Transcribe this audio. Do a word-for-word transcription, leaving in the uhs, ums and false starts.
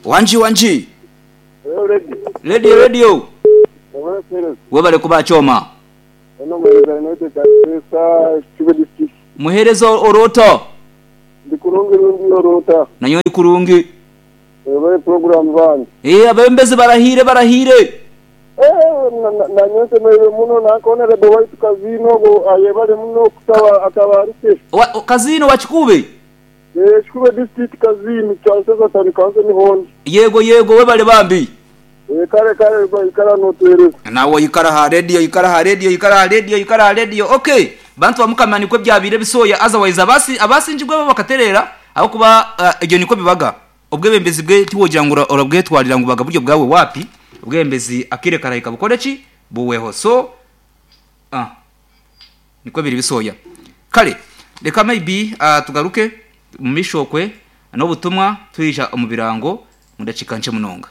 Wanji wanji. Ready. Radio radio. Webale Webale kuba choma. Ono muhereza United Pesa Kibe district. Muhereza orota. Ndi kurungi rungi orota. Nanyo ndi kurungi. Webale program bandi. Eh abembezi barahire barahire. Eh nanyo semeire muno nankona rebe waitu kazino go ayebale muno kusaba atabarike. Wa, kazino wakikube. Eh Kikube district kazino kyanseza tani kanze ni hondi. Yego yego webale bambi. Eh kare kare ikara notwereza. Nawe ikara ha radio ikara ha radio ikara ha radio ikara ha radio. Okay. Bantu bamukamani kwe byabire bisoya otherwise abasi abasinjigwe bakaterera aho kuba uh, ibyo niko bibaga. Ubwebembezi bwe tiwogira ngo urabwetwarira ngo baga buryo bwawe wapi ubwembezi akire karahika bukore ki buweho so ah niko biri bisoya kale reka maybe uh, tugaruke mu mishokwe n'ubutumwa tuyija mu birango mudacika nce munonga.